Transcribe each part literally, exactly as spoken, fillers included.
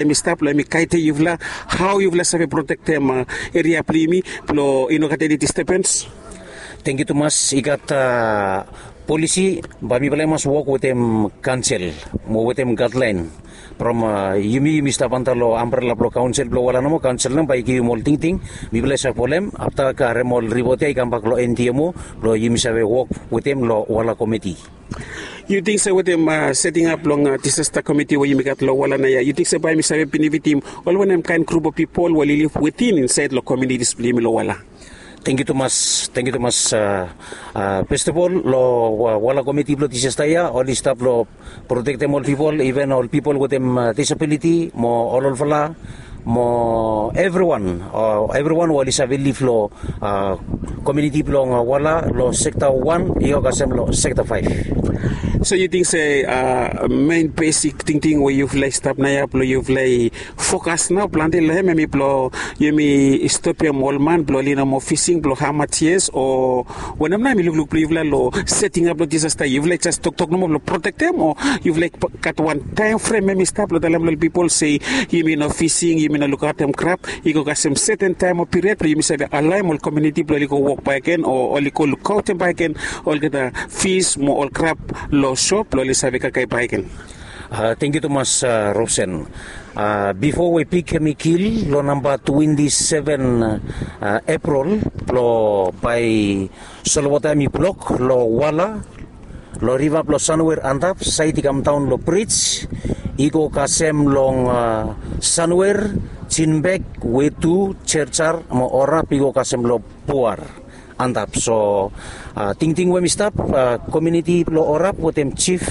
Em i stap long em i kaite yufala, hau yufala save protektem eria blong yumi blong i no gat eni distebens. Tengiu tumas. I gat polisi, bae mipela i mas wok wetem kansel mo wetem gatlaen. From yumi yumi stap antap long ambrela blong kaunsil blong wala nomo, kaunsil nao bae i givim ol tingting. Mipela i save folem afta karem ol ripot ya i kambak long endemo blong yumi save wok wetem long wala komiti. Yu ting se wetem seting ap blong disasta komiti we yumi gat long wala nao ya, yu ting se bae mi save benefitim ol wanem kaen grup of pipol we oli lif wetin insaed long komunitis blong yumi long wala? Tengiu tumas, tengiu tumas. Festafol long wala komiti blong disasta ya oli stap long protektem ol pipol, iven ol pipol wetem disabiliti mo ol olfala mo evriwan, evriwan we oli save lif long komuniti blong wala long sekta wan i go kasem long sekta faef. So yu ting se men besik tingting we yufala i stap nao ya blong yufala i fokas nao plante long hem em i blong yumi stopem ol man blong oli no moa fising blong hamas yes o wanem nao em i lukluk blong yufala long seting ap long disasta? Yufala i jes toktok nomo blong protektem o yufala i gat wan taem frem em i stap long talem long ol pipol se yumi no fising, yumi no lukaotem krap, i go kasem seten taem o piriod blong yumi save alaem ol komuniti blong oli go wok bakegen o oli go lukaotem bakegen olgeta fis mo ol krap long sop blong oli save kakae bakegen? Tengiu tumas, Robsen. Bifo we pik hem i kil long namba twenti seven Epril blong bae solwota hem i blok long wala long riva blong Sanwer antap saed i kamdaon long brij i go kasem long Sanwer, Jinbek, Wetu, Jerjar mo Orap i go kasem long Buar antap. So tingting we hem i stap, komuniti blong Orap wetem jif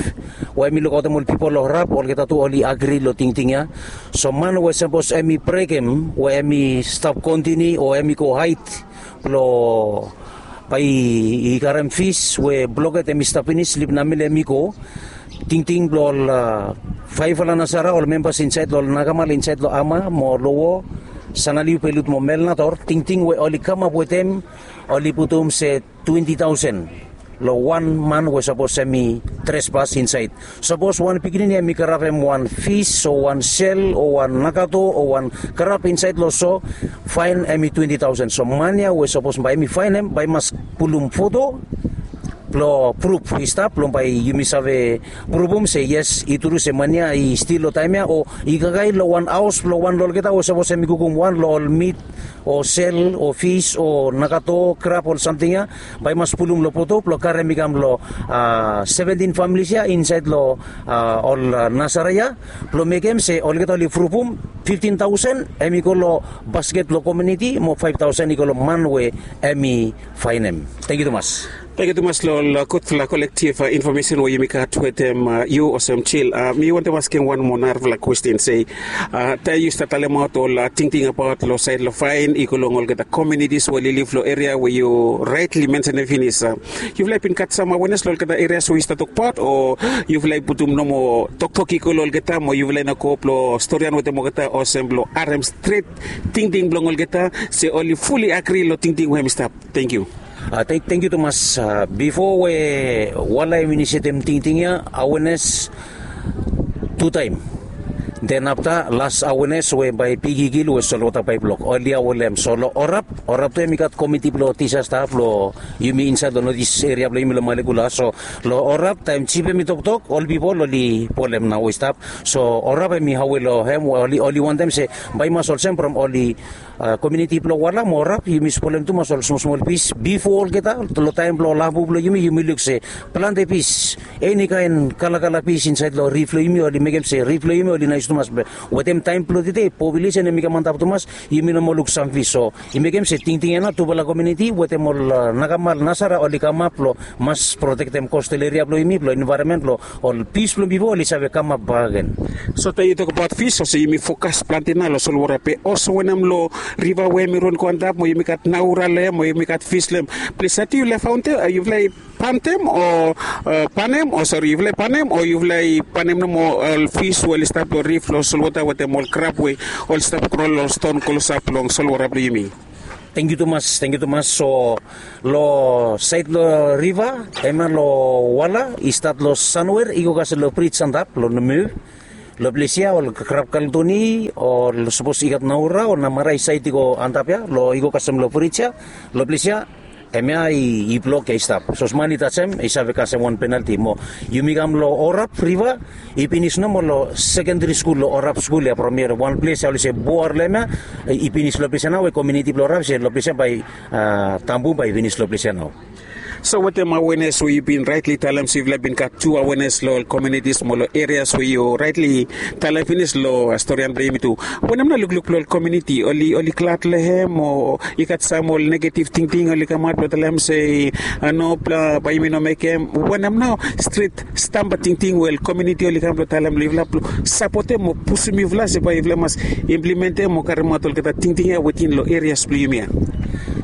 we hem i lukaotem ol pipol long Orap olgeta tu oli agri long tingting ya. So man we sapos hem i brekem we hem i stap kontiniu o hem i go haed blong bae i karem fis we bloket hem i stap finis, lip namele hem i go. Tingting blong ol faefala nasara ol membas insaed long ol nakamal insaed long Ama mo Lowo, Sanaliu, Belut mo Melnator, tingting we oli kamap wetem oli putum se twenti taosen long wan man we sapos hem i trespas insaed. Sapos wan pikinini hem i karapem wan fis o wan sel o wan nakato o wan krap insaed long so, faen hem i twenti taosen. So man ya we sapos bae hem i faenem bae i mas pulum foto blong pruv i stap blong bae yumi save pruvum se yes, i tru se man ya i stil long taem ya o i kakae long wan haos blong wan long olgeta we sapos hem i kukum wan long ol mit o sel o fis o nakato krap ol samting ya, bae i mas pulum long foto blong karem i kam long seventin familis ya insaed long ol nasara ya blong mekem se olgeta oli pruvum fiftin taosen hem i go long basket blong komuniti mo faef taosen i go long man we hem i faenem. Tengiu tumas. Tengiu tumas long ol gudfala kolektif infomesen we yumi gat wetem yu olsem Jil. Mi wantem askem wan moa narafala kwesten se taem yu stap talemaot ol tingting abaot long saed long faen i go long olgeta komunitis we oli lif long eria we yu raetli mensenem finis, yufala i bin gat sam awenes long olgeta erias we yu stap tokbaot o yufala i putum nomo toktok i go long olgeta mo yufala i no go blong storian wetem olgeta olsem blong harem stret tingting blong olgeta se oli fuli agri long tingting we hem i stap? Tengiu. Tengiu tumas. Bifo we wala hem inisetem tingting ya awenes tu taem, den afta las awenes we bae pik i kil we solwota bae i blok oli awelem. So long Orap, Orap tu hem i gat komiti blong disasta blong yumi insaed long notis eria blong yumi long Malekula. So long Orap taem jif hem i toktok ol pipol oli polem nao we i stap. So Orap hem i awe long hem we oli wantem se bae i mas olsem from oli komuniti blong wala mo Orap yumi spolem tumas ol smolsmol pis bifo olgeta long taem blong ol abu blong yumi yumi luk se plante pis, eni kaen kalakala pis insaed long rif blong yumi oli mekem se rif blong yumi oli nais tumas. Wetem taem blong tede populesen hem i kam antap tumas, yumi no moa luk sam pis. So i mekem se tingting ya nao tufala komuniti wetem ol nakamal nasara oli kamap blong mas protektem kostal eria blong yumi blong envaeronmen blong ol pis blong bifo oli save kamap bakegen. So taem yu tokbaot fis olsem yumi fokas plante nao long solwota be olsem wanem long riva we hem i ron go antap mo yumi gat naura long hem mo yumi gat fis long hem? Ples ya tu yufala i faontem, yufala i pantem o panem o sori, yufala i panem o yufala i panem nomo ol fis we oli stap long rif long solwota wetem ol krap we oli stap gro long ston klosap long solwota blong yumi? Tengiu tumas, tengiu tumas. So long saed long riva, hemia long wala i stat long Sanwer i go kasem long brij antap long Nomu. Long ples ya ol krap kaltoni ol sapos i gat naura o namara i saet i go antap ya long i go kasem long frij ya, long ples ya em ya i blok ya i stap. Sapos man i tajem i save kasem wan penalti mo yumi kam long orap riva, i pinis nomo long sekendari skul long orap skul ya from ya wan ples ya oli se buar long em ya i pinis long ples ya nao we kominiti blong orap se long ples ya bai tambu bai i pinis long ples ya nao. So wetem awenes we yu bin raetli talem se yufala bin gat tu awenes long ol kominitis mo long erias we yu raetli talem finis long storian blong yumi tu, wanem nao lukluk blong ol kominiti oli glad long hem o i gat sam ol negativ tingting oli kamaot blong talem se a no blong bai yumi no mekem wanem nao stret stamba tingting we ol kominiti oli kam blong talem long yufala blong sapotem o pusum yufala se bai yufala mas implimentem o karimaot olgeta tingting ya wetin long erias blong yumi ya.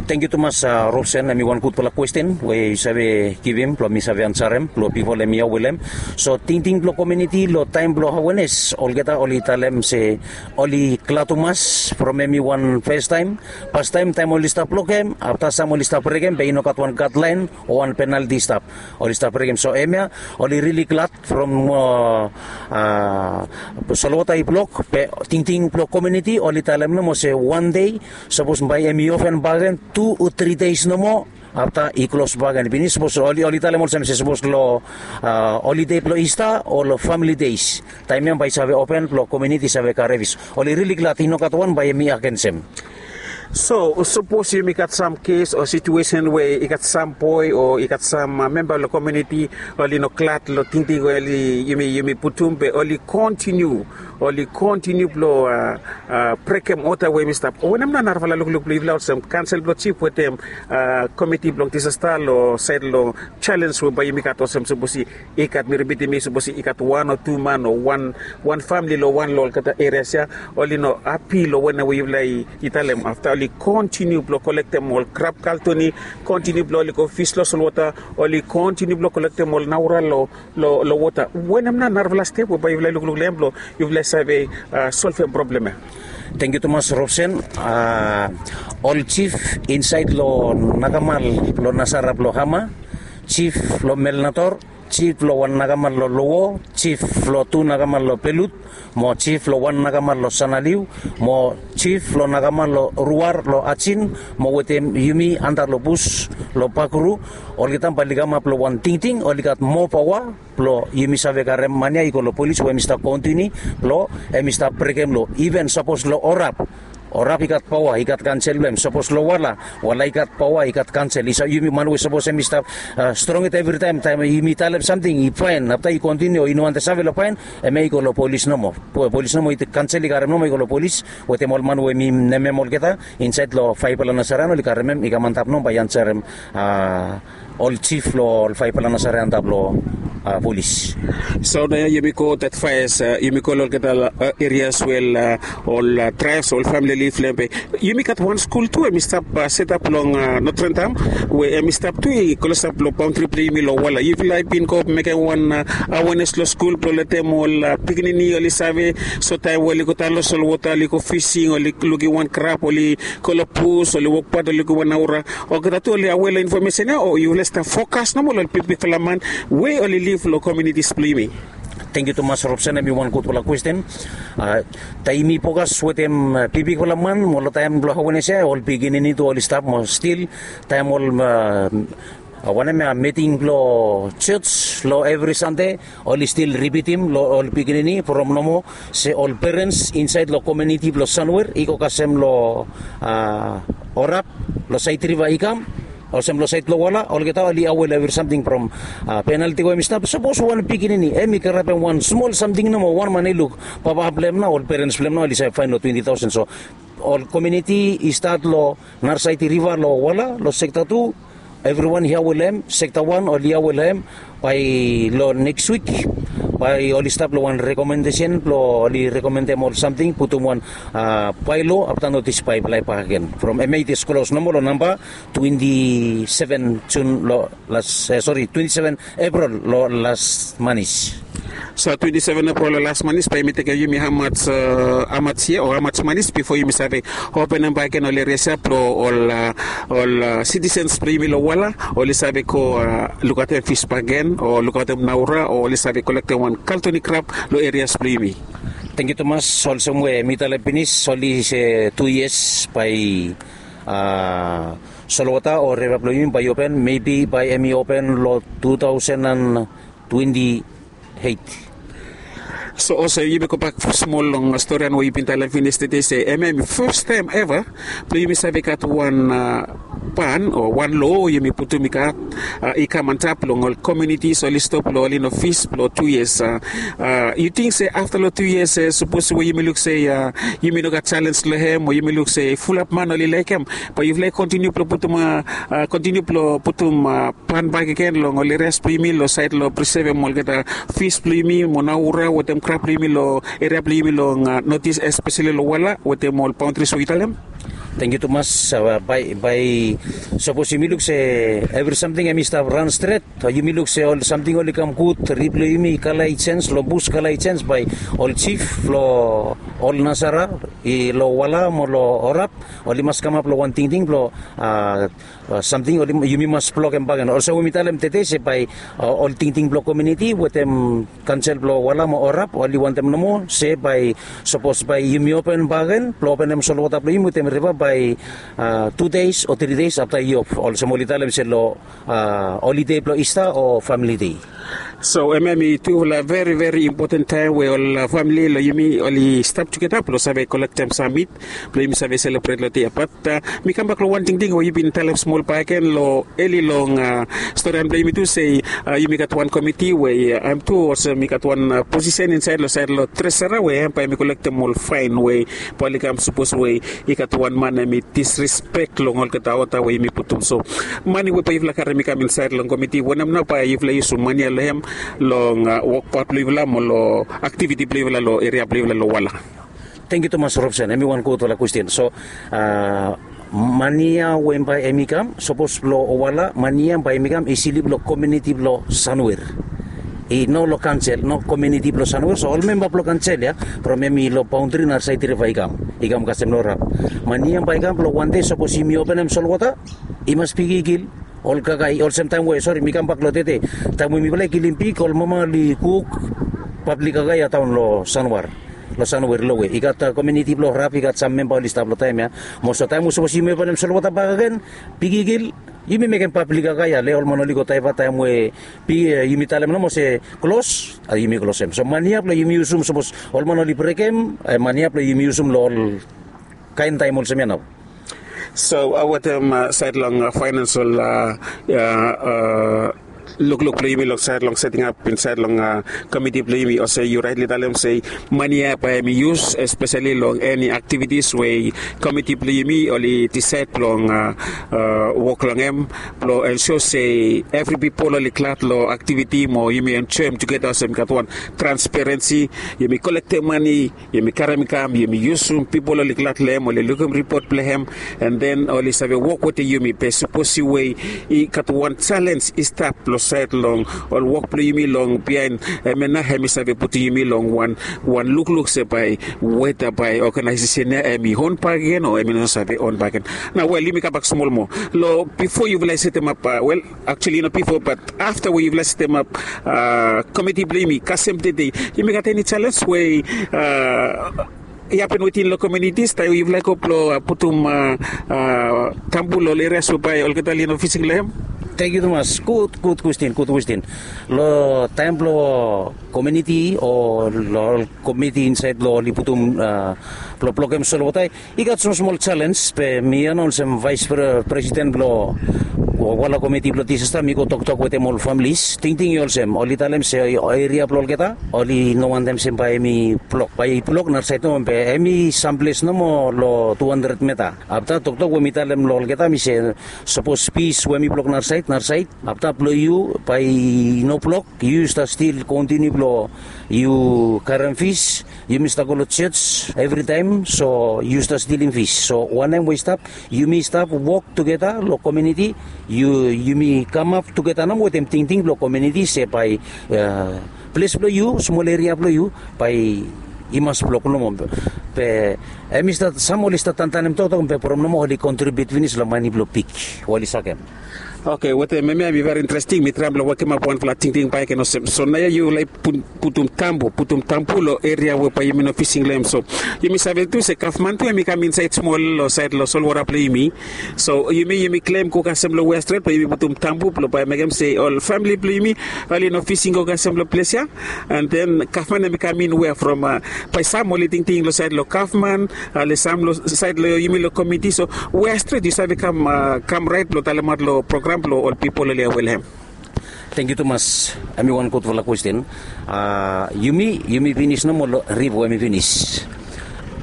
Tengiu tumas, robsen em i wan gudfala kwesten we yu save givim blong mi save ansarem blong pipol em i awelem. So tingting blong kominiti long taem blong awenes olgeta oli talem se oli glad tumas from em i wan festaem. Pastaem taem oli stap blokem afta sam oli stap brekem be i no gat wan gatlaen o wan penalti i stap, oli stap brekem so em ya oli rili glad from solwota i blok be tingting blong kominiti oli talem nomo se wan dei sapos bai em i ofen bagen tu o tri deis nomo afta i klos bagen pinis sapos oli talem olsem se sapos long olide blong ista o long famili deis taem ya bai i save open blong kominiti i save karefis. Oli rili glad i no gat wan bai em i agensem. So sapos yumi gat sam kes o situesen we i gat sam boe o i gat sam memba long kominiti oli no glad long tingting we oli yumi putum be oli kontiniu oli kontiniu blong brekem oda we yumi stap wanem nao narafala lukluk blong yufala olsem kansel blong jif wetem komiti blong disasta long saed long jalens we bai yumi gat olsem sapos i gat mi ripitim i sapos i gat wan o tu man o wan famili long wan long olgeta erias ya oli no hapi long wanem we yufala i talem afta oli kontiniu blong kolektem ol krap kaltoni kontiniu blong oli go fis long solwota oli kontiniu blong kolektem ol naura long wota wanem nao narafala step we bai yufala i lukluk long em blong yufala i save solvem problem ya. Tengiu tumas robsen. Ol jif insaed long nakamal blong nasara blong hama, jif blong melnator, jif blong wan nakamal long lowo, jif blong tu nakamal long pelut, mo jif blong wan nakamal long sanaliu, mo jif blong nakamal long ruar long ajin, mo wetem yumi anda long bus long bakru, olgeta bae oli kamap long wan tingting oli gat moa paoa blong yumi save karem man ya i go long polis we hem i stap kontini blong hem i stap brekem lo iven sapos long orap orap i gat paoa i gat kansel blong hem sapos long wala wala i gat paoa i gat kansel i save yumi man we sapos hem i stap strongit evritaem taem yumi talem samting i paen afta i kontini o i no wantem save long paen hem ya i go long polis nomo. Polis nomo i kansel i karem nomo i go long polis wetem ol man we mi nemem olgeta insaed long faefala nasaran oli karem hem i kam antap nomo bae i ansarem ol jif blong ol faefala nasare antap long polis. So nao ya yumi go dat faes yumi go long olgeta erias we ol traes ol famili liv long hem be yumi gat wan skul tu hem i stap setap long notrendam we hem i stap tu i klosap long baontri blong yumi long wala yufala i bin go mekem wan awenes long skul blong letem ol pikinini oli save so taem we oli go daon long solwota oli go fising oli lukim wan krap oli go long bus oli wokbaot oli lukim wan naura olgeta tu oli awe long infomesen ya o yufala i stap fokas nomo long ol bigbigfala man we oli liv long kominitis blong yumi. Tengiu tumas robsen hem i wan gudfala kwesten. Taem yumi fokas wetem bigbigfala man mo long taem blong awenes ya ol pikinini tu oli stap mo stil taem ol wanem ya miting blong jos long evri sande oli stil ripitim long ol pikinini from nomo se ol perens insaed long kominiti blong sanwer i go kasem long orap long saed riva i kam olsem long saed blong wala olgeta oli awe long evri samting from penalti we hem i stap sapos wan pikinini hem i karapem wan smol samting nomo wan man i luk papa blong hem nao ol perens blong hem nao oli save faen long twenti taosen so ol kominiti i stat long narasaed riva long wala long sekta tu evriwan i awe long hem sekta wan oli awe long hem bae long neks wik bae oli stap long wan rekomendesen blong oli rekomendem ol samting putum wan baelo afta notis bae i blai bakegen from hem ya i jes klos nomo long namba twenti seven jun long las sori twenti seven epril long las manis. So twenti seven april o las manis bae yumi tekem yumi hamaj hamaj yia o hamaj manis bifo yumi save openem bakegen ol erias ya blong ol ol sitisens blong yumi long wala oli save go lukaotem fis bakegen o lukaotem naura o oli save kolektem wan kaltoni krap long erias blong yumi. Tengiu tumas. Olsem we mi talem pinis oli se tu yias bae solwota o reva blong yumi bae i open mebi bae em i open long tu taosen an twenti eit. So olsem yumi gobak smol long storian we yu bin talem finis tede se em em fes taem eva blong yumi save gat wan pan o wan lo yumi putum i gat i kam antap long ol komunitis oli stop long oli no fis blong tu yias. Yu ting se afta long tu yias sapos we yumi luk se yumi no gat selens long hem o yumi luk se fulap man oli laekem bae yufala i kontiniu blong putum kontiniu blong putum pan bakegen long ol erias blong yumi long saed long prisevem olgeta fis blong yumi mo naura wetem krap blong yumi long eria blong yumi long notis espeseli long wala wetem ol baontris we yu talem. Tengiu tumas. Bae bae sapos yumi luk se evri samting em i stap ran stret yumi luk se ol samting oli kam gud rip blong yumi i kala i sens long bus kala i sens bae ol jif blong ol nasara i long wala mo long orap oli mas kamap long wan tingting blong samting yumi mas blokem bakegen olsem we mi talem tede se bae ol tingting blong kominiti wetem kansel blong wala mo orap oli wantem nomo se bae sapos bae yumi open bakegen blong openem solwota blong yumi wetem riva bae tu deis o tri deis afta i of olsem oli talem se long olide blong ista o famili dei. So em em i tufala veri veri impoten taem we ol famili long yumi oli stap tugeta blong save kolektem samit blong yumi save selebret long dei ya bat mi kambak long wan tingting we yu bin talem smol bakegen long eli long storian blong yumi tu se yumi gat wan komiti we em tu olsem mi gat wan posisen insaed long saed long tresara we em bae mi kolektem ol faen we bae oli kam sapos we i gat wan man em i disrespek long olgeta ota we yumi putum so mani we bae yufala karim i kam insaed long komiti wanem nao bae yufala yusum mani ya long hem long wokbaot blong yufala mo long aktiviti blong yufala long eria blong yufala long wala. Tengiu tumas robson em i wan gudfala kwestin so mani ya we bae em i kam sapos blong wala mani ya bae em i kam i slip long kominiti blong sanwer i no long kansel no kominiti blong sanwer so ol memba blong kansel ya from em i long baontri nasaed riva i kam i kam kasem long rap mani ya bae i kam blong wande sapos yumi openem solwota i mas bigigil ol kakai olsem taem we sori mi kambak long tede taem we mifala i kilim pik ol mama oli kuk pablik kakai ya daon long sanwar long sanwer lowe i gat kominiti blong rap i gat sam memba oli stap long taem ya mo so taem we sapos yumi openem solwota bakegen bigigil yumi mekem pablik kakai ya le ol man oli go daeva taem we yumi talem nomo se klos a yumi klosem so mani ya blong yumi yusum sapos ol man oli brekem mani ya blong yumi yusum long ol kaen taem olsem ya nao. So wetem saed long faenansol lukluk blong yumi long saed long setingap insaed long komiti blong yumi olsem yu raetli talem se mani ya bae em i yus espeseli long eni aktivitis we komiti blong yumi oli disaed blong wok long hem blong ensua se evri pipol oli glad long aktiviti mo yumi enjoem tugeta olsem i gat wan transperensi yumi kolektem mani yumi karem i kam yumi yusum pipol oli glad long hem oli lukim ripot blong hem an den oli save wok wetem yumi be sapos we i gat wan selens i stap long saed long ol wok blong yumi long biaen em ya nao hem i save putum yumi long wan wan lukluk se bae weta bae oganaesesen ya em i on bakegen o em i no save on bakegen. Nao wel yumi kambak smol moa long bifo yufala i setemap wel aktuali no bifo bat afta we yufala setemap komiti blong yumi kasem tede yumi gat eni selens we i hapen wetin long komunitis taem we yufala i go blong putum tambu long ol erias we bae olgeta oli no fisik long hem. Tengiu tumas gud gud kwestin gud kwestin long taem blong komuniti o long ol komiti insaed long oli putum blong blokem solwota i gat smosmol selens be mi ya nao olsem vaes presiden blong wala komiti blong disasta mi go toktok wetem ol familis tingting i olsem oli talem se eria blong olgeta oli no wantem se bae em i blok bae i blok nasaed nomo be em i samples nomo long tu handred meta afta toktok we mi talem long olgeta mi se sapos pis we em i blok nasaed nasaed afta blong yu bae i no blok yu stap stil kontiniu blong yu karem fis yumi stap go long jos evritaem so yu stap stilim fis so wanem we i stap yumi stap wok tugeta long kominiti yumi kamap tugeta nao wetem tingting blong kominiti se bae ples blong yu, smol eria blong yu, bae i mas blok nomo. Be em i stat, sam oli stat tantanem toktok be from nomo oli kontribiut finis long mane blong pik we oli sakem. Oke, wetem hemia hem i veri interesting. Mi traem blong wokemap wanfala tingting bakegen olsem, so naoia yu laek putum tambu, putum tambu long eria we bae yumi no fising long hem. So yumi save tu se gavman tu hem i kam insaed smol long saed long solwota blong yumi. So yumi yumi klem go kasem long wea stret blong yumi putum tambu blong bae mekem se ol famili blong yumi oli no fising go kasem long ples ya. And then gavman hem i kam in wea from, bae sam oli tingting long saed long gavman, ale sam long saed long yumi long komiti. So wea stret yu save kam kam raet blong talemaot long program blong ol pipol oli aware long hem? Tangkiu tumas. Hem i wan gudfala kwesten. Yumi yumi finis nomo long rif we hem i finis.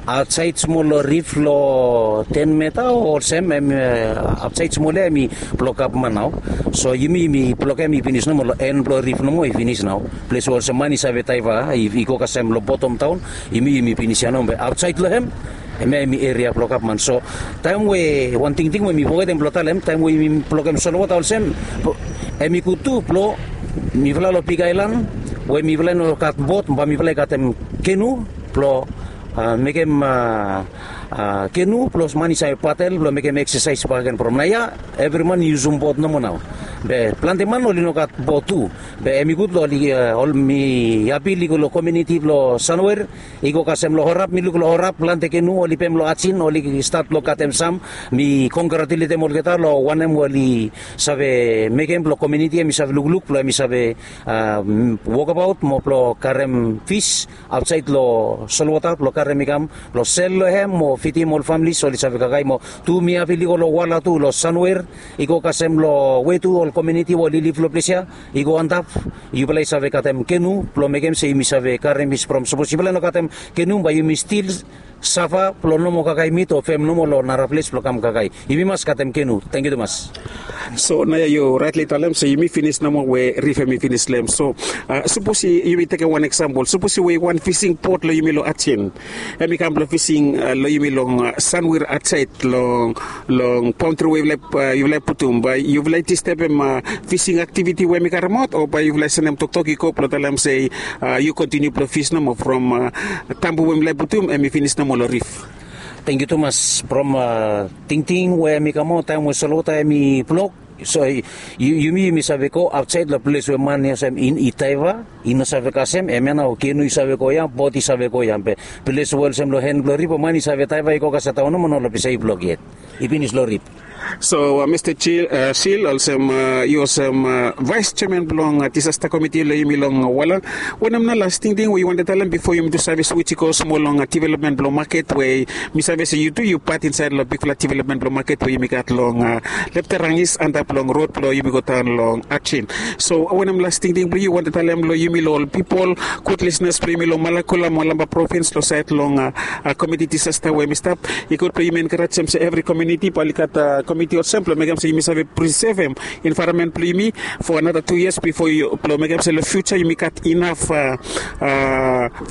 Aotsaed smol long rif long ten meta o olsem hem, aotsaed smol ya hem i blok gavman nao. So yumi yumi blok hem i finis nomo long en blong rif nomo i finis nao. Ples we olsem man i save taiva i go kasem long botom taon, yumi yumi finis ya nomo be aotsaed long hem, hemia hem i eria blong gavman. So taem we wan tingting we mi fogetem blong talem, taem we yumi blokem solwota olsem, hem i gud tu blong mifala long big aelan we mifala i no gat bot bae mifala i gatem kenu blong mekem kenu blong man i save padel blong mekem eksasaes bakegen from naoia evri man i yusum bot nomo nao. Be plante man oli no gat bot tu. Be hem i gud long oli ol mi apil i go long kominiti blong sanwer i go kasem long horap mi luk long horap plante kenu oli pem long ajin oli stat blong gatem sam. Mi kongratuletem olgeta long wanem we oli save mekem blong kominiti hem i save lukluk blong hem i save wokabaot mo blong karem fis aotsaed long solwota blong karem i kam blong sel long hem mo fidim ol familis oli save kakae mo tu mi apil i go long wala tu long sanwer i go kasem long we tu ol kominiti we oli lif long ples ya i go antap. Yufala i save gatem kenu blong mekem se yumi save karem fis from sapos yufala i no gatem kenu bae yumi stil safa blong no moa kakae mit o fem nomo long nara ples blong kam kakae. Yumi mas katem kenu. Tangkiu tumas. So naoia yu raetli talem se yumi finis nomo we rif hem i finis long hem. So sapos yumi tekem wan eksampol, sapos we wan fising bot long yumi long ajen hem i kam blong fising long yumi long sanwir aotsaed long long paontri we yufala i putum bae yufala i distebem fising aktiviti we hem i karemaot o bae yufala i sendem toktok i go blong talem se yu kontiniu blong fis nomo from tambu we mifala i putum hem i finis nomo long rif. Tangkiu tumas from tingting we hem i kamaot taem we solwota hem i blok. So yumi yumi save go aotsaed long ples we man i olsem i taiva i no save kasem hemia nao kenu i save go ya bot i save go ya be ples we olsem long hen blong rif man i save taiva i go kasem taon nomo nao long ples ya i blok yet i finis long rif. So mista sil olsem yu olsem vaes jeaman blong disasta komiti long yumi long wala, wanem nao las tingting we yu wantem talem bifo yumi tu save swits i go smol long developmen blong maket we mi save se yu tu yu pat insaed long bigfala developmen blong maket we yumi gat long lepterangis antap long rod blong yumi go daon long ajen. So wanem las tingting blong yu wantem talem long yumi long ol pipol gud lisnas blong yumi long malakula mo lamba provins long saed long komiti disasta we hem i stap. I gud blong yumi enkarejem se evri kominiti bae oli gat komiti olsem blong mekem se yumi save prisevem envaeronmen blong yumi fo anata tu yias bifo blong mekem se long fiuja yumi gat inaf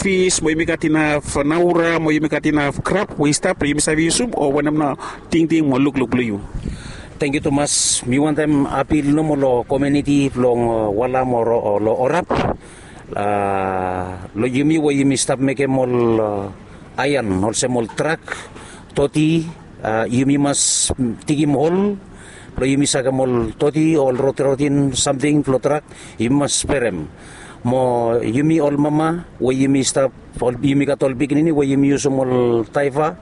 fis mo yumi gat inaf naura mo yumi gat inaf krap we i stap blong yumi save yusum o wanem nao tingting mo lukluk blong yu? Tangkiu tumas. Mi wantem apil nomo long kominiti blong wala mo long orap long yumi we yumi stap mekem ol aean olsem ol trak toti. Yumi mas tigim hol blong yumi sakem ol toti ol rotirotin samting blong trak yumi mas sperem mo yumi ol mama we yumi stap yumi gat ol pikinini we yumi yusum ol taiva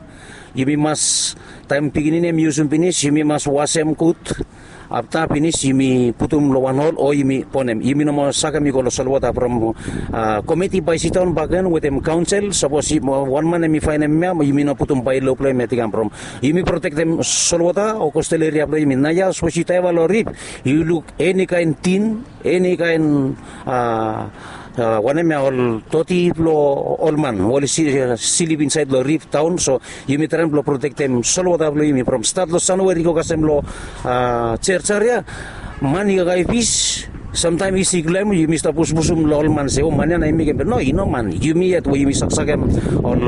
yumi mas taem pikinini hem i yusum finis yumi mas wasem gud. Afta finis yumi putum long wan hol o yumi bonem yumi no moa sakem i go long solwota from komiti bae i sidaon bakegen wetem kaonsel sapos wan man hem i faenem ya yumi no putum bae lo blong hem ya i kam from yumi protektem solwota o kostal eria blong yumi naoia sapos yu taiva long rif yu luk eni kaen tin eni kaen wanem ya ol toti blong ol man we oli silip insaed long rif taon so yumi traem blong protektem solwota blong yumi from stat long sanweri i go kasem long jerjar ya man i kakae fis samtaem i sik long hem yumi stap pusupusum long ol man se o man ya nao i mekem be no i no man yumi yet we yumi saksakem ol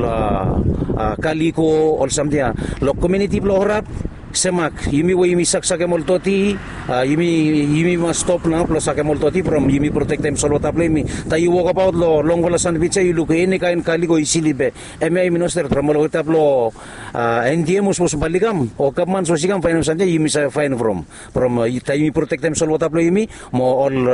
kaliko ol samting ya long kominiti blong horap. Semak, yumi we yumi saksakem ol doti, yumi yumi mas stop nao blong sakem ol doti from yumi protektem solwota blong yumi. Taem yu wokabaot long longfala sanbij ya yu luk eni kaen kalik o isili be hemia yumi no stret from olgeta blong endiem o sapos bae oli kam o gavman sapos i kam faenem samting ya yumi save faen from from taem yumi protektem solwota blong yumi mo ol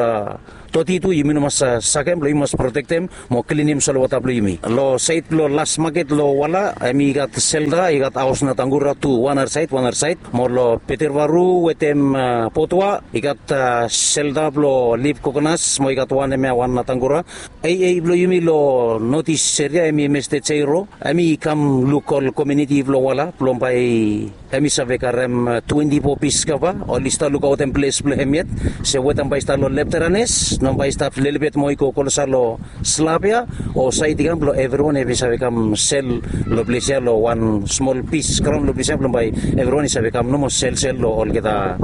doti tu yumi no mas sakem blong yumi mas protektem mo klinim solwota blong yumi. Long saed blong las maket long wala, hemi gat selta, i gat haos na tangura tu wan arasaed wan arasaed. Mo long petervaru wetem potua i gat selta blong lip kokonas mo i gat wan hemia wan na tangura. Ei ei blong yumi long notis eria hemi meste jeiro, hemi kam luk ol komiuniti blong wala blong bae hemi save karem twenti fo pis kava. Oli stap lukaotem ples blong hem yet se wetem bae i stap long lepteranes no bae i stap lelebet mo i go klosa long slap ya o saed i kam blong evriwan hemi save kam sel long ples ya long wan smol pis graon long ples ya blong bae evriwan i save kam nomo selsel long olgeta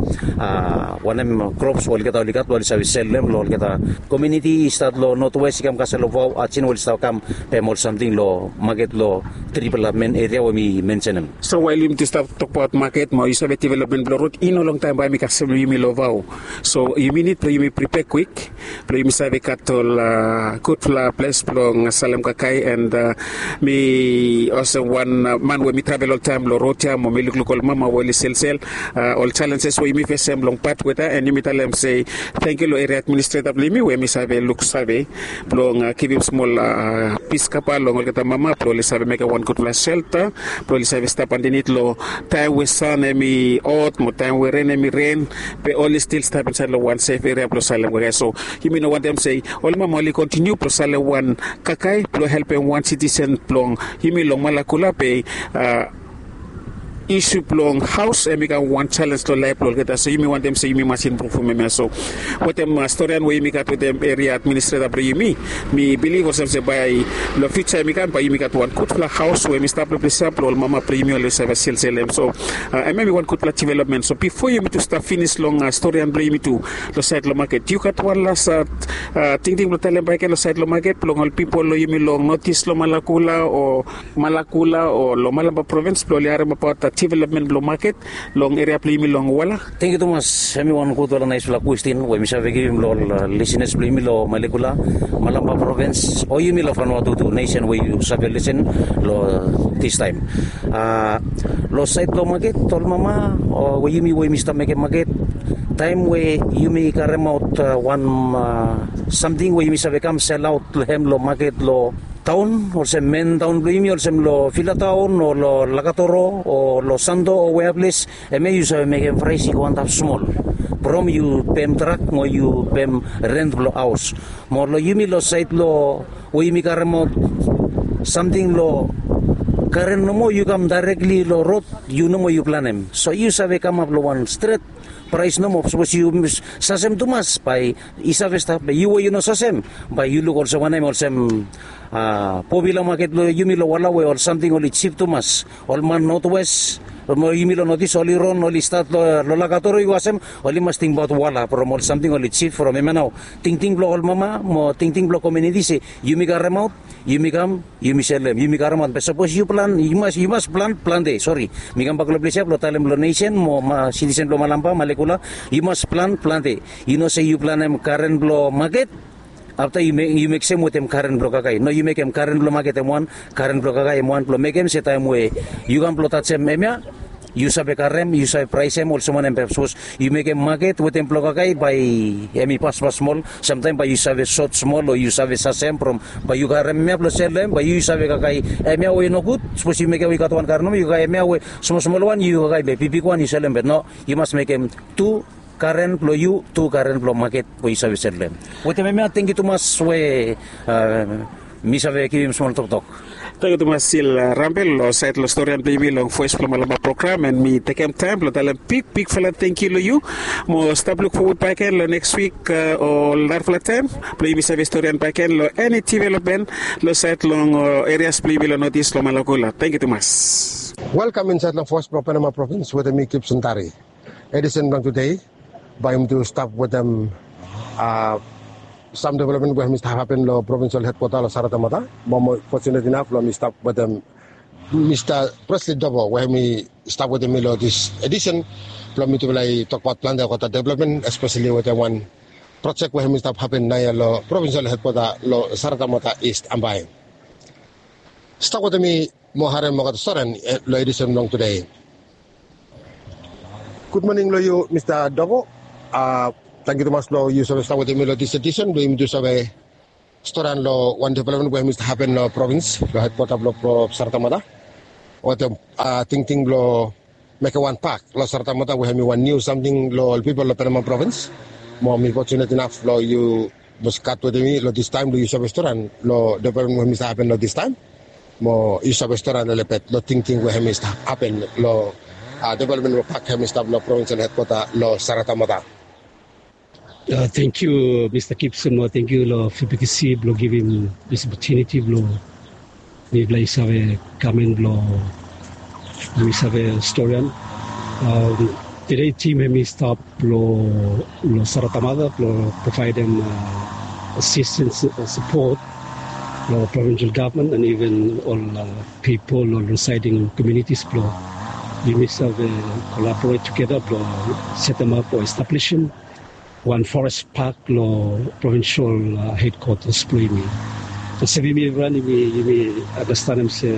wanem krops olgeta oli gat blong oli save sel long hem long olgeta komiuniti i stat long notwes i kam kasel long vao ajin we oli stap kam pem ol samting long maket long tripela men eria we mi mensenem. So wael yumi tu stap tokbaot maket mo yu save developmen blong rod i no longtaem bae mi kasem long yumi long vao. So yumi nid blong yumi pripea kwik blong yumi save gat ol gudfala ples blong salem kakae and mi olsem wan man we mi travel oltaem long rod ya mo mi lukluk ol mama we oli selsel ol jalenjes we yumi fesem long bad weta and yumi talem se tangkiu long eria administreta blong yumi we mi save luksave blong givim smol pis kapa long olgeta mama blong oli save mekem wan gudfala selta blong oli save stap andanit long taem we san hemi hot mo taem we ren hemi ren be oli stil stap insaed long wan sef eria blong salem kakae. So yumi no wantem se ol mama oli kontiniu blong salem wan kakae blong helpem wan sitisen blong yumi long malakula be isu blong haos hemi kam wan jalens long laef blong olgeta so yumi wantem se yumi mas impruvum hemia so wetem storian we yumi gat wetem eria administreta blong yumi mi bilif olsem se bae long fiuja hemi kam bae yumi gat wan gudfala haos we hemi stap long ples ya blong ol mama blong yumi oli save selselem so hemia hemi wan gudfala developmen so bifo yumi tu stap finis long storian blong yumi tu long saed long maket yu gat wan las tingting blong talem bakegen long saed long maket blong ol pipol long yumi long notis long malakula o malakula o long malamba provins blong oli haremabaot developmen blong maket long eria blong yumi long wala. Tangkiu tumas. Hemi wan gudfala naesfala kwestin we mi save givim long ol lisinas blong yumi long malekula malamba provins o yumi long fanua tutu nesen we yu save lisin long distaem long saed blong maket ol mama o we yumi we yumi stap mekem maket taem we yumi karemaot wan samting we yumi save kam selaot long hem long maket long taon olsem men taon blong yumi olsem long filataon o long lakatoro o long santo o wea ples hemia yu save mekem praes i go antap smol from yu pem trak mo yu pem rent blong haos mo long yumi long saed long we yumi karemaot samting long karen nomo yu kam daerekli long rod yu nomo yu planem so yu save kamap long wan stret praes nomo sapos yu sasem tumas bae i save stap be yu we yu no sasem bae yu luk olsem wanem olsem popila maket blong yumi long wala we ol samting oli jip tumas ol man notwes mo yumi long notis oli ron oli stat long lakatoro yu asem oli mas tingbaot wala from ol samting oli jip from hemia nao tingting blong ol mama mo tingting blong komiuniti se yumi karemaot yumi kam yumi selem yumi karemaot be sapos yu plan yu mas yu mas plan plante sori mi kambak long ples ya blong talem long nesen mo sitisen blong malamba malekula yu mas plan plante yu no se yu planem karen blong maket afta yu meksem wetem karen blong kakae no yu mekem karen blong maket em wan karen blong kakae em wan blong mekem se taem we yu kam blong tajem hemia yu save karem yu save praesem olsem wanem be sapos yu mekem maket wetem blong kakae bae hem i paspas smol samtaem bae yu save sot smol o yu save sasem from bae yu karem hemia blong sel long hem bae yu save kakae hemia we nogud sapos yu mekem we yu gat wan karen nomo yu kakae hemia we smolsmol wan yu kakae be bigbig wan yu sel long hem be no yu mas mekem tu karen blong yu tu karen blong maket we yu save sel long hem. Wetem hemia tangkiu tumas we mi save givim smol toktok. Tangkiu tumas stil rambel long saed long storian blong yumi long voes blong malamba program and mi tekem taem blong talem bigbigfala tangkiu long yu mo stap lukfowad bakegen long neks wik o narafala taem blong yumi save storian bakegen long eni developmen long saed long erias blong yumi long notis long malakula tangkiu tumas. Welkam insaed long voes blong panama provins wetem mi kipson tari. Edisen blong tude bae yumi tu stap wetem sam developmen we hem i stap hapen long provinsel hedkwata long saratamata mo mo fotunet inaf blong mi stap wetem Mista Presley Dobo we hemi stap wetem mi long dis edisen blong mitufala i tokbaot plante olgeta developmen, espeseli wetem wan projek we hemi stap hapen naoia long provinsel hedkwata long Saratamata, East Ambae. Stap wetem mi mo harem olgeta storian long edisen blong tudei. Gudmoning long yu, Mista Dobo. Tangkiu tumas blong yu save stap wetem mi long dis edisen blong yumi tu save storian long wan developmen we hemi stap hapen long provins long hedkwata blong Saratamata wetem tingting blong mekem wan pak long Saratamata we hemi wan niu samting long ol pipol long Penama provins. Mo mi fotsunet inaf blong yu mas gat wetem mi long distaem blong yu save storian long developmen we hemi stap hapen long distaem. Mo yu save storian lelebet long tingting we hemi stap hapen long developmen blong pak hemi stap long provinsel hedkwata long Saratamata. Tangkiu, Mista Gibson, mo tangkiu long F B T C blong givim dis opotuniti blong mifala i save kamin blong mi save storian. Tede tim hemi stap long Saratamata blong provaedem asistens, sapot long provinsel gavman and iven ol pipol long risaeding komunitis blong yumi save kolaboret tugeta blong setemap o establisim wan forest pak long provinsel hedkwatas blong yumi. Olsem yumi evriwan yumi andastanem se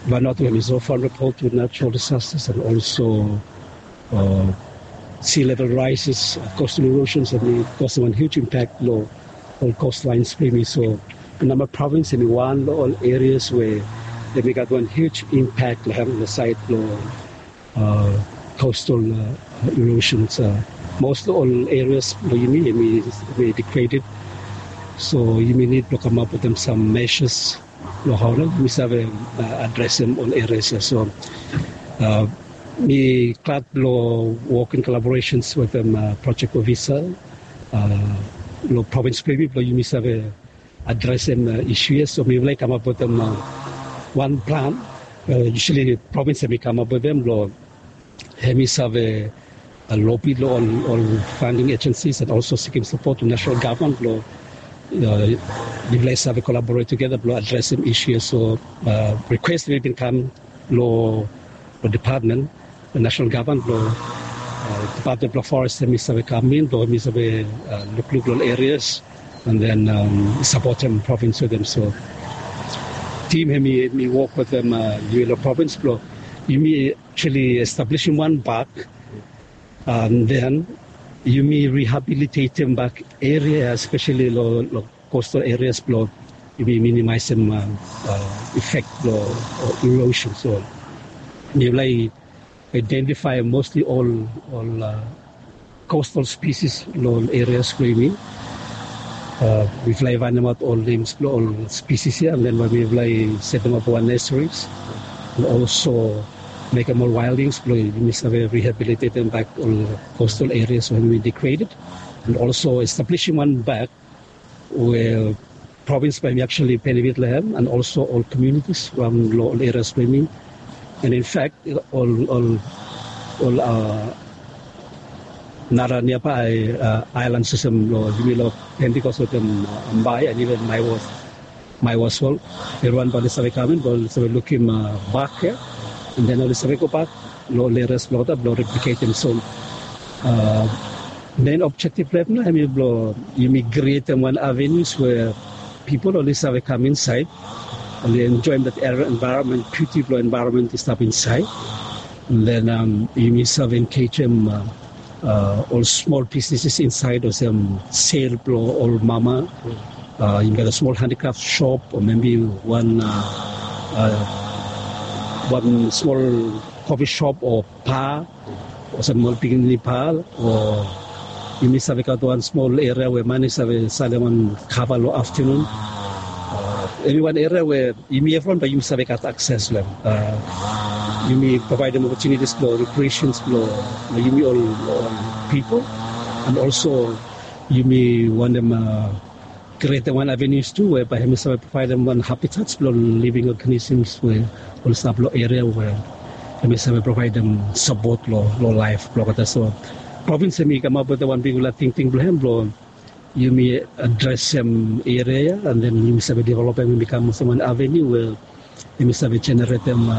Vanuatu hemi so vulnerable to natural disasters and also sea level rises, coastal erosions hemi kosem wan huge impact long ol coastlines blong yumi. So Penama provins hemi wan long ol areas we hemi gat wan huge impact long hem long saed long coastal erosions. Most long ol areas blong yumi hemi degraded. So yumi nid blong kamap wetem sam measures long hao nao yumi save adresem ol areas ia. So mi glad blong wok in collaborations wetem project ofisa long provins blong yumi blong yumi save adresem isu ia. So mifala i kamap wetem wan plan. Usually provins hemi kamap wetem blong hemi save lobi long ol funding agencies and also sikim sapot long national gavman blong mifala i save kolaboret tugeta blong adresem isu ia. So rikwes hemi bin kam long depatmen, national gavman blong depatmen blong forest hemi save kam in blong hemi save lukluk long ol areas and then sapotem provins wetem. So tim hemi wok wetem yumi long provins blong yumi actually establisim wan bak and then yumi rehabilitatem bak eria espeseli long coastal areas blong yumi minimaesem effect blong erosion. So mifala i identifaem mostly ol ol coastal species long ol areas blong yumi. Mifala i faenemaot ol nems blong ol species ia and then bae mifala i setemap wan nurseries and also mekem ol wildings blong yumi save rehabilitatem bak ol coastal areas we hemi degraded and also establisim wan bak we provins bae yumi actually benefit long hem and also ol communities raon long ol areas blong yumi. And in fact ol ol ol nara niabae aelan olsem long yumi long Pentecost wetem Ambae and iven Maewas Maewas ol evriwan bae oli save kam in bae oli save lukim bak ia and then oli save gobak long ol areas blong olgeta blong repliketem. So mein objektif blong hem nao hemi blong yumi krietem wan avenues we pipol oli save kam insaed oli enjoem dat envaeronmen, biuti blong envaeronmen i stap insaed. And then yumi save enkejem ol smol bisneses insaed olsem sel blong ol mama. Yumi gat ol smol handikraf sop o maybe wan wan smol kofi sop o pa olsem ol pikinini pa o yumi save gat wan smol eria we man i save salem wan kava long aftanun. Eniwan eria we yumi evriwan bae yumi save gat akses long hem. Yumi provaedem opotunitis blong rekreasens blong yumi ol pipol and olso yumi wantem krietem wan avenues tu we bae hemi save provaedem wan habitats blong living organisms we oli stap long eria we hemi save provaedem sapot long laef blong olgeta. So provins hemi kamap wetem wan bigfala tingting blong hem blong yumi adresem eria ia and then yumi save developem i kam olsem wan avenue we Hemi save jeneretem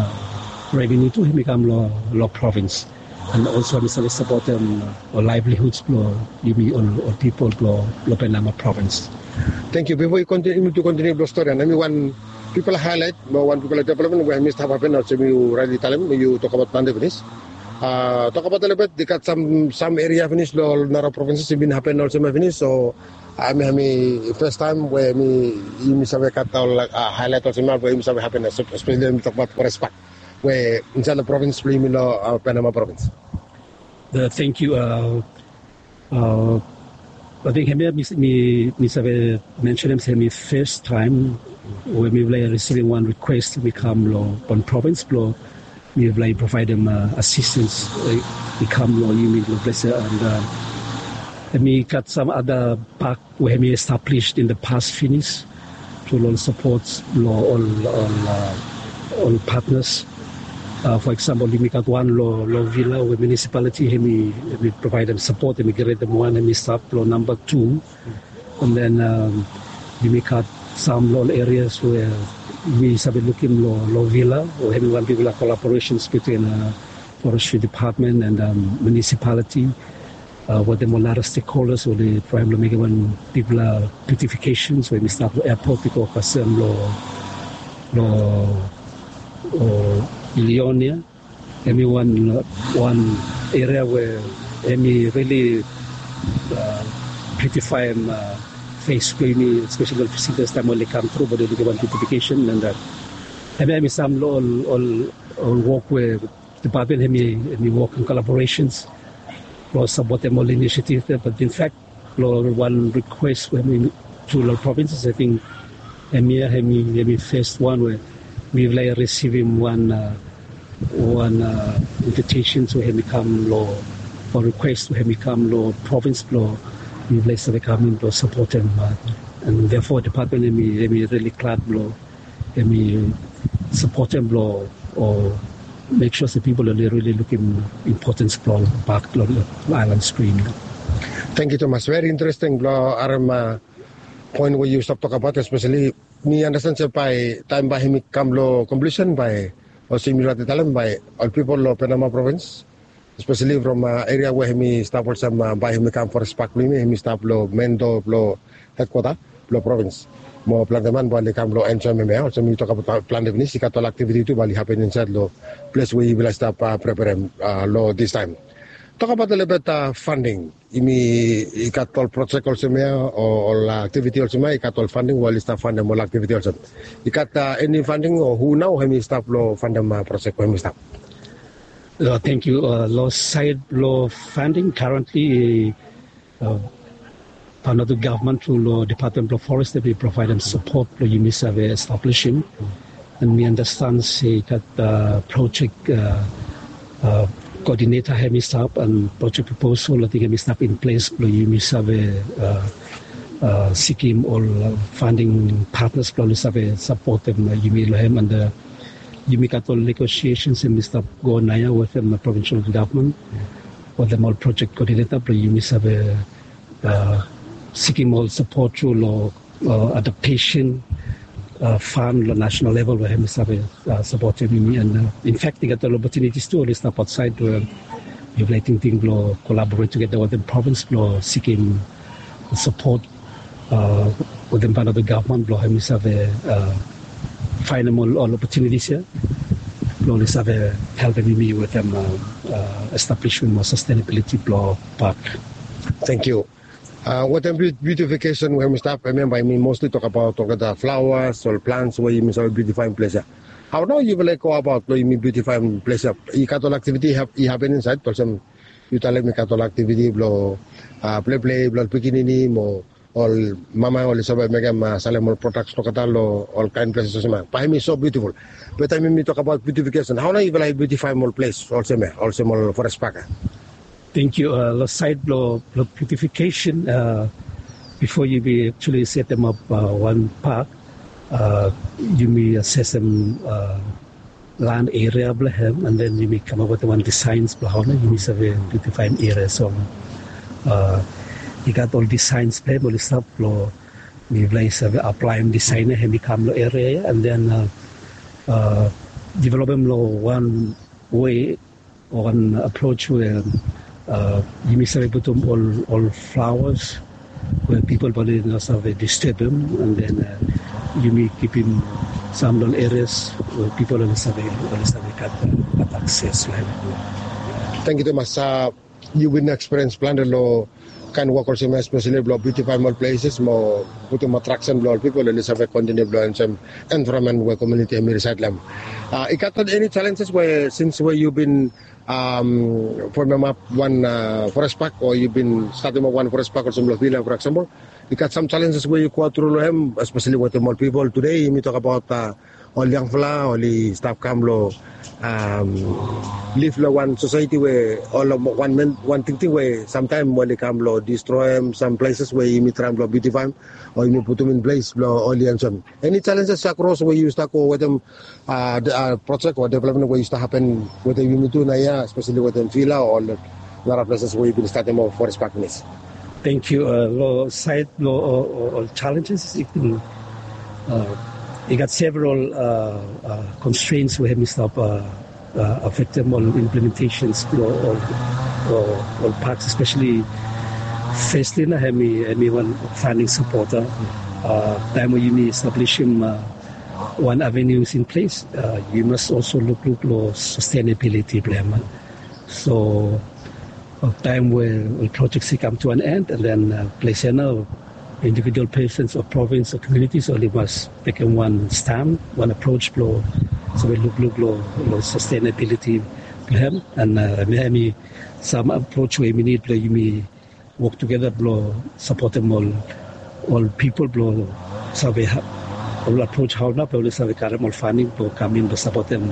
revenu tu hemi kam long provins. And also hemi save sapotem ol laivlihuds blong yumi ol pipol blong Penama provins. Tengkiu. Bifo yu kontiniu blong stori ya, hemi wan bigfala haelaet mo wan bigfala developmen we hemi stap hapen olsem yu raetli talem, yu tokbaot plante finis. Tokbaot olibet, i gat sam eria finis long ol nara provinses i bin hapen olsem ya finis, o hemi hemi fes taem we hemi yumi save gat ol haelaet olsem ya we yumi save hapen, espeseli hemi tokbaot forest park we insaed long provins blong yumi long Penama provins. Tengkiu. Ating hemia mi save mensenem se hemi fes taem we mifala i risivim wan rikwes i kam long wan provins blong mifala i provaedem asistens i kam long yumi long ples ya. And hemi gat sam ada pak we hemi establis in the past finis tru long sapot blong ol patnas. Fo eksampol, yumi gat wan long Vila we munisipaliti hemi provaedem sapot, hemi krietem wan, hemi stap long namba tu. And then yumi gat sam long ol erias we yumi save lukim long Vila we hemi wan bigfala kolaboresens bitwin Forestry Department and munisipaliti wetem ol nara stekholdas we oli traem long mekem wan bigfala biutifikesen we hemi stap long epot i go kasem long Leon ya. Hemi wan eria we hemi rili biutifaem fes blong yumi, espeseli ol visitas taem oli kam tru blong oli lukim wan biutifikesen. And hemia hemi sam long ol wok we depatmen hemi wok in kolaboresens blong sapotem ol inisiativ ya. Bat in fak, long wan rikwes we hemi tu long provinses, ating hemia hemi fes wan we mifala i risivim wan wan invitesens we hemi kam long, o rikwes we hemi kam long provins blong mifala i save kam in blong sapotem. And therefore depatmen hemi rili glad blong hemi sapotem blong o mek sua se pipol oli rili lukim impotens blong pak long aelan strim. Tengkiu tumas. Veri interesting blong harem poen we yu stap tokbaot, espeseli mi anastan se bae taem bae hemi kam long konklujsen bae olsem yu raetli talem bae ol pipol long Penama provins, espeseli from eria we hemi stap olsem bae hemi kam forest pak blong yumi, hemi stap long men doa blong hedkwata blong provins. Mo plante man bae oli kam long enjoem hemia, olsem yu tokbaot plante finis, i gat ol aktiviti tu bae oli hapen insaed long ples we yufala i stap preperem long distaem. Tokbaot olibet fanding. Yumi i gat ol projek olsem ya o ol aktiviti olsem ya, i gat ol fanding we oli stap fandem ol aktiviti olsem? I gat eni fanding o hu nao hemi stap long fandem projek we hemi stap? Tengkiu. Long saed blong fanding, karentli Vanuatu gavman tru long Depatmen blong Forest hemi provaedem sapot blong yumi save establisim. And mi anastan se i gat projek koodineta hemi stap, and projek proposal ating hemi stap in ples blong yumi save sikim ol fanding patnas blong oli save sapotem yumi long hem. And yumi gat ol negosiesens hemi stap go naoia wetem provinsel gavman wetem ol projek koodineta blong yumi save sikim ol sapot tru long adaptesen fan long nasenal level we hemi save sapotem yumi. And in fak i gat ol opotunitis tu oli stap aotsaed we mifala i tingting blong kolaboret tugeta wetem provins blong sikim sapot wetem Vanuatu gavman blong hemi save faenem ol opotunitis ya blong oli save helpem yumi wetem establisim ol sastenabiliti blong pak. Tengkiu. Wetem biutifikesen we hemi stap, hemia bae yumi mostli tokbaot olgeta flaoas, ol plants we yumi save biutifaem ples ya. Hao nao yufala i goabaot blong yumi biutifaem ples ya? I gat ol aktiviti i hapen insaed olsem yu talem i gat ol aktiviti blong pleplei blong ol pikinini mo ol mama oli save mekem salem ol prodaks blong olgeta long ol kaen ples olsem ya, bae hemi so biutiful. Be taem yumi tokbaot biutifikesen, hao nao yufala i biutifaem ol ples olsem ya, olsem ol forest pak ya? Tengkiu. Long saed blong biutifikesen, bifo yumi aktuali setemap wan pak, yumi asesem lan eria blong hem, and then yumi kamap wetem wan disaens blong hao nao yumi save biutifaem eria. So i gat ol disaens blong hem oli stap blong mifala i save aplaem disaen ya, hemi kam long eria ya, and then developem long wan wei o wan approach we yumi save putum ol flawas we pipol bae oli no save disturbem, and then yumi kipim sam long ol areas we pipol oli save oli save gat akses long hem. Tangkiu tumas. Yu bin ekspiriens plante long kaen wok olsem ya, espeseli blong biutifaem ol pleses mo putum atraksen blong ol pipol oli save kontiniu blong enjoem envaeronmen we komuniti hem i risaed long hem. I gat eni jalenjes we sins we yu bin fomemap wan forest pak o yu bin statemap wan forest pak olsem long vila, for eksempel, i gat sam jalenjes we yu go tru long hem, espeseli wetem ol pipol tude yumi tokabaot ol yangfala oli stap kam long liv long wan sosaeti we ol wan men wan tingting we samtaem oli kam long distroem sam pleses we yumi traem blong biutifaem o yumi putum in ples blong oli enjoem. Eni jalenjes akros we yu stap go wetem projek o developmen we yu stap hapen wetem yumi tu naoia, espeseli wetem vila o ol nara pleses we yu bin statem ol forest pak pinis? Tangkiu. Long saed blong ol jalenjes i gat several constraints we hem i stap afektem ol implementasens blong ol paks, espeseli fesli nao hem i wan faenem sapot. Taem we yumi establisim wan avenues in ples, yu mas olso lukluk long sastenabiliti blong hem. So taem we ol projek i kam tu an en, and then ples ya nao individual pesens o provins o komunitis oli mas mekem wan stan, wan apros blong save lukluk long sastenabiliti blong hem. And hem i sam apros we yumi nid blong yumi wok tugeta blong sapotem ol ol pipol blong save ol apros hao nao blong oli save karem ol faenem blong kam in blong sapotem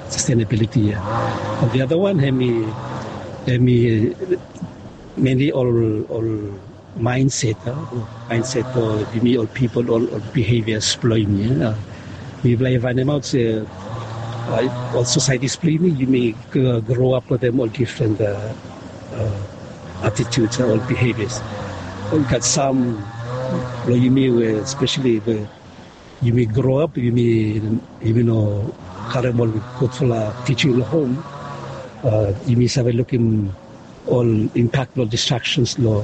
sastenabiliti ya. Ol the other wan hem i hem i meni ol ol maenset, maenset blong yumi ol pipol, ol bihevias blong yumi. Mifala i faenemaot se ol sosaetis blong yumi, yumi groap wetem ol difren atituds, ol bihevias. Ol gat sam blong yumi we speseli we yumi groap, yumi yumi no karem ol gudfala tijing long hom. Yumi save lukim ol impak blong distraksens long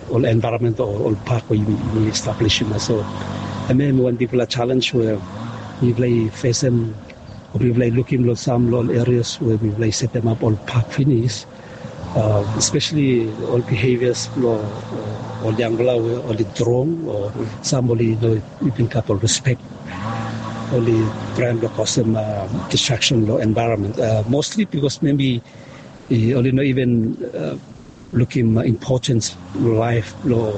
ol envaeronmen o ol pak we yumi establisim ya. So hemia hemi wan bigfala jalenj we mifala i fesem o mifala i lukim long sam long ol erias we mifala i setemap ol pak finis, espeseli ol bihevias blong ol yangfala we oli drong o sam oli no even gat ol rispek, oli traem blong kosem distraksen long envaeronmen, mosli bikos mebi oli no even lukim impotens blong laef blong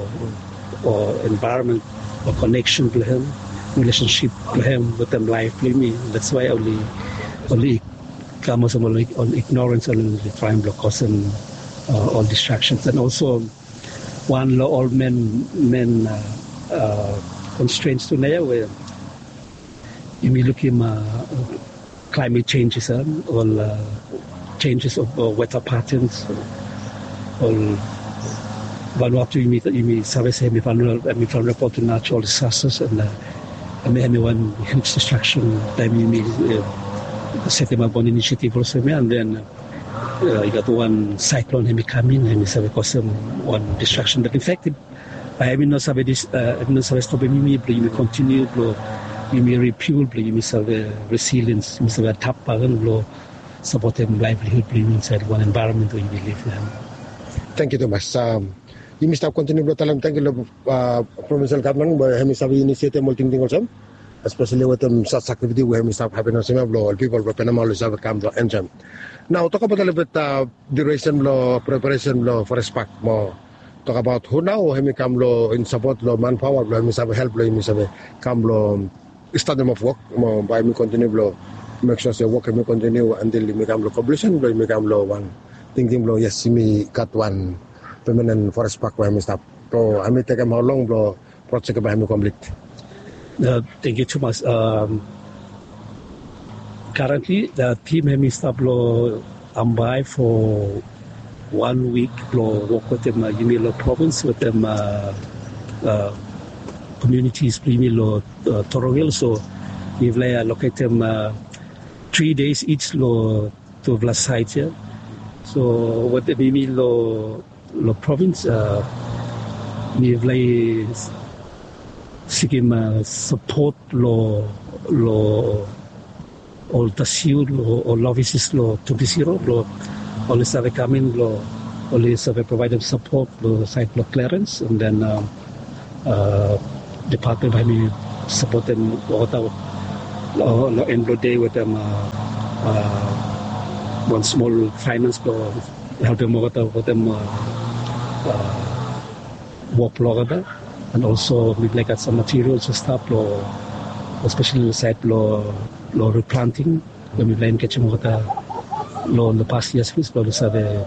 o envaeronmen o koneksen blong hem, rilesensip blong hem wetem laef blong yumi. That's why oli oli kam olsem ol ignorens, oli traem blong kosem ol distraksens. And also wan long ol men men konstrens tu naoia we yumi lukim klaemet jenjes, ol jenjes of weta patens, ol Vanuatu yumi save se hemi vulnerable to natural disasters, and hemi hemi wan huge distraksen taem yumi setemap wan inisiativ olsem ya, and then i gat wan saeklon hemi kam in, hemi save kosem wan distraksen. But in fact bae hemi no save dis hemi no save stopem yumi blong yumi kontiniu blong yumi ripiul blong yumi save resiliens, yumi save adap baken blong sapotem laevlihud blong yumi insaed wan envaeronmen we yumi liv long hem. Tangkiu tumas. Yumi stap kontiniu blong talem tangkiu long provinsel gavman we hemi save inisietem ol tingting olsem, espeseli wetem sas aktiviti we hemi stap hapen olsem ya blong ol pipol blong Penama oli save kam blong enjoem. Nao tokbaot olgeta diuresen blong preparesen blong forest pak mo tokabaot hu nao hemi kam long in sapot long manpaoa blong hemi save help blong yumi save kam long statemap wok mo bae yumi kontiniu blong mek sua se wok hemi kontiniu antil yumi kam long konklusen blong yumi kam long wan tingting blong yes, yumi gat wan pemanen forest pak we hemi stap. So hemi tekem haolong blong projek bae hemi komplit? Tangkiu tumas. Karentli tim hemi stap long Ambae fo wan wik blong wok wetem yumi long provins wetem komunitis blong yumi long Torogel. So Mifala i aloketem tri days each long tufala sait ya. So wetem yumi long long provins, mifala i sikim sapot long long ol tasiu long ol ofises long tubisiro blong oli save kamin blong oli save provaidem sapot long sait blong klerens, and then depatmen bae mi sapotem olgeta long en blong dei wetem wan smol faenans blong helpem olgeta wetem wok blong olgeta. And also mipela i gat sam materials i stap long, especially long sait blong long replanting, we mipela i ketim olgeta long the past years plis blong oli save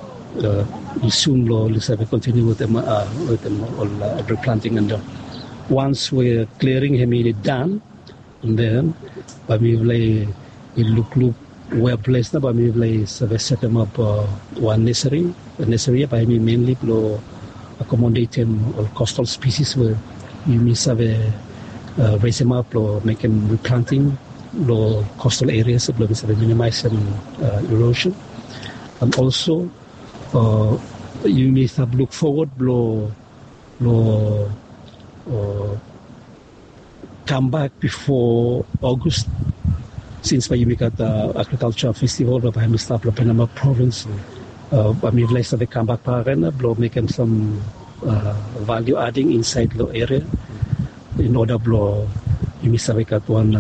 resume blong oli save continue wetem wetem ol replanting. And once we clearing hem i done, and then bae mipela i lukluk wea ples na bae mipela i save setemap wan neseri. Neseri ya bae hem i mainly blong accommodatem ol coastal species we yumi save resemap blong mekem replanting long coastal areas blong yumi save minimaisim erosion. And also yumi save luk fowod blong blong kambak bifo August, sins bae yumi gat agrikalsa festival bae hem i stap long Penama provins. Bae mipela i save kambak bakegen blong mekem sam value adding insait long eria in order blong yumi save gat wan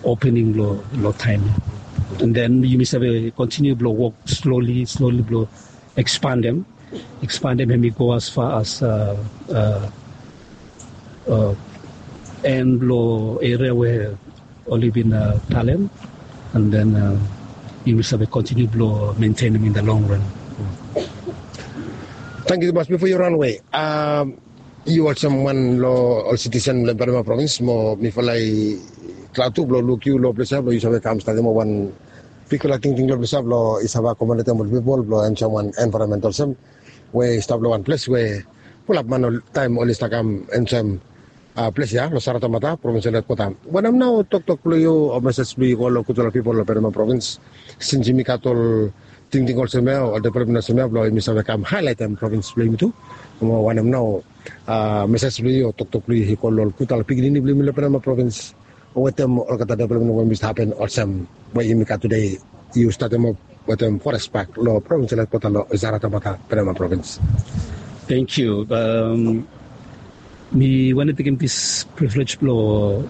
opening long long taem ya. And then yumi save continue blong wok slowly slowly blong expandem expandem hem i go as far as en blong eria we oli bin talem, and then yumi save continue blong maintainim in the long run. Tangkiu tumas. Bifo yu ranwe, yu olsem wan long ol sitisen blong Penama provins, mo mifala i glad tu blong luk yu long ples ya blong yu save kam statim wan bigfala tingting long ples ya blong i save akomodetem ol pipol blong enjoem wan envaeronmen olsem we i stap long wan ples we fulap man ol taem oli stap kam enjoem ples ya long Saratamata provinsel hedkwota. Wanem nao toktok blong yu o mesej blong yu i go long gudfala pipol long Penama provins, sins yumi gat ol tingting olsem ya, ol developmen olsem ya blong yumi save kam haelaetem provins blong yumi tu? Mo wanem nao mesej blong yu o toktok blong yu i go long ol gudfala pikinini blong yumi long Penama provins wetem olgeta developmen we i stap hapen olsem we yumi gat tude? Yu statemap wetem forest park long provinsel hedkwota long Saratamata, Penama provins. Tangkiu. Mi wantem tekem dis privilej blong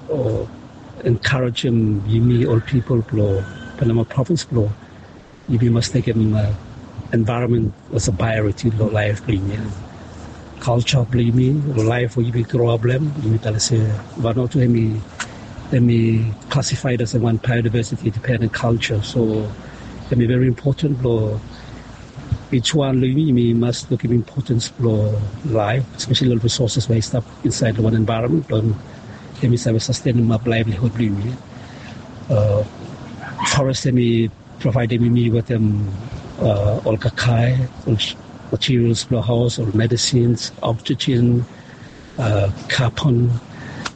enkarejem yumi ol pipol blong Penama provins blong yumi mas tekem envaeronmen olsem praeoriti long laef blong yumi. Kalsa blong yumi, long laef we yumi groap long hem, yumi talem se Vanuatu hem i hem i klasifaed olsem wan biodiversity dependent culture. So hem i veri impoten blong each wan long yumi, yumi mas lukim impotens blong laef, espeseli ol risoses we i stap insaed long wan envaeronmen blong hem i save sastenimap laevlihud blong yumi. Forest hem i provaedem yumi wetem ol kakae, ol materials blong haos, ol medisins, oxygen, carbon.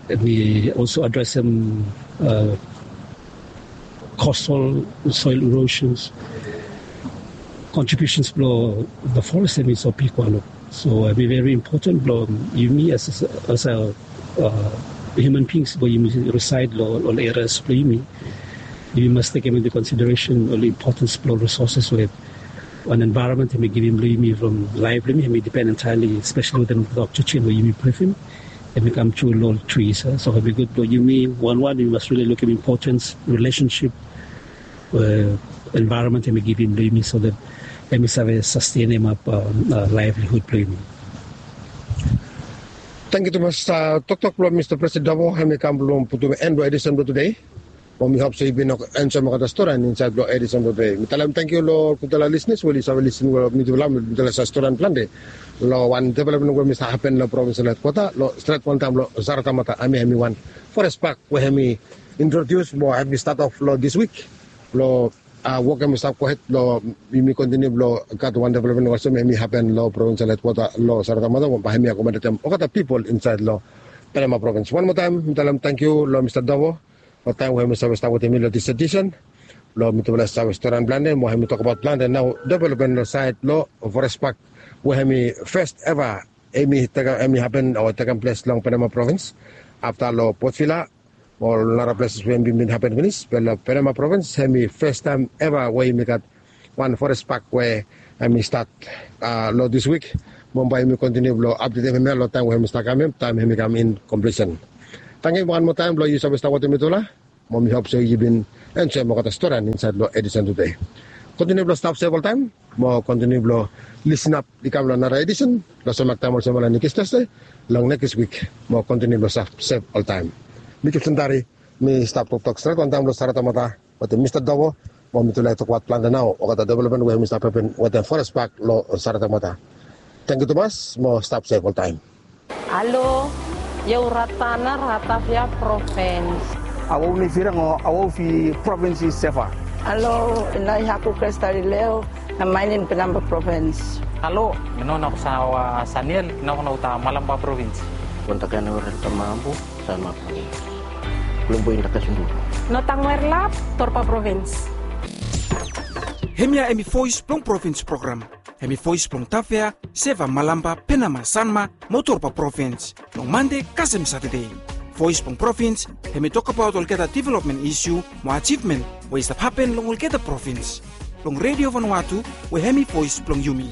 Hem i also adresem coastal soil erosions. Contributions blong the forest hem i so bigwan. So hem i veri impoten blong yumi as a human beings blong yumi risaed long ol erias blong yumi. Yumi mas tekem into consideration ol impotens blong risoses we wan envaeronmen hem i givim long yumi from laef blong yumi, hem i dipen entaeli espeseli wetem oxygen we yumi brifim. Hem i kam tru long ol tris. So hem i gud blong yumi wanwan yumi mas rili lukim impotens rilesensip we envaeronmen hem i givim long yumi so that hem i save sastenimap laevlihud blong yumi. Tangkiu tumas. Toktok blong Mista Presiden Davo hem i kam blong putum en long edisen blong tude. Mo mi hop se yu bin enjoem olgeta stori insaed long edisen blong tude. Mi talem tangkiu long ol gudfala lisnis we oli save lisin we mitufala mitufala save stori plante long wan developmen we mi save hapen long provinsel hedkwota long stret wantaem long Saratamata. Hem i hem i wan forest park we hem i introdius mo hem i stat of long dis wik. Long wok hem i stap gohed long yumi kontiniu blong gat wan developmen olsem hem i hapen long provinsel hedkwota long Saratamata, bae hem i akomodetem olgeta pipol insaed long Penama provins. Wan moa taem mi talem tangkiu long Mista Davo long taem we hemi save stap wetem mi long dis edisen. Blong mitufala save storian plante mo hemi tokbaot plante nao developmen long saed long Forest Park, we hemi fes eva hemi tekem, hemi hapen o tekem ples long Penama provins, afta long Port Vila mo nara ples we hemi bin hapen finis. Be long Penama provins hemi fes taem eva we yumi gat wan Forest Park we hemi stat long dis wik. Mo bae yumi kontiniu blong apdetem hemia long taem we hemi stap kam, taem hemi kam in komplisen. Tangkiu wan moa taem blong yu save stap wetem mitufala. Mo mi hop se yu bin enjoem olgeta storian insaed long edisen tude. Kontiniu blong stap sef oltaem mo kontiniu blong lisenap i kam long nara edisen long sem taem olsem nekis Tasde long nekis wik. Mo kontiniu blong stap sef oltaem. Mi Gibson Tari, mi stap toktok stret wantaem long Saratoga Mata wetem Mista Dovo. Mo mitufala i tokbaot plante nao olgeta developmen we hemi stap hapen wetem Forest Park long Saratoga Mata. Tangkiu tumas mo stap sef oltaem. Alo, Yehuratana, Rataphia provins. Awau ni firang o awau fi provins i sefa. Alo, ina i haku Krestalileo, na mainin Penama provins. Alo, mi no na kusawa Saniel, na kuna uta Malampa provins. Kontakana weren tamambu, Sanma provins. Kulumbu inda kasundu. No tangwer lap, Torpa provins. Hemia hemi Voes blong Provins program. Hemi voes blong Tafea, Seva, Malampa, Penama, Sanma mo Torpa provins long Mande kasem Satade. Voes blong Provins hemi tokbaot olgeta developmen isiu mo ajivmen we i stap hapen long olgeta provins. Long Redio Vanuatu, we hemi voes blong yumi.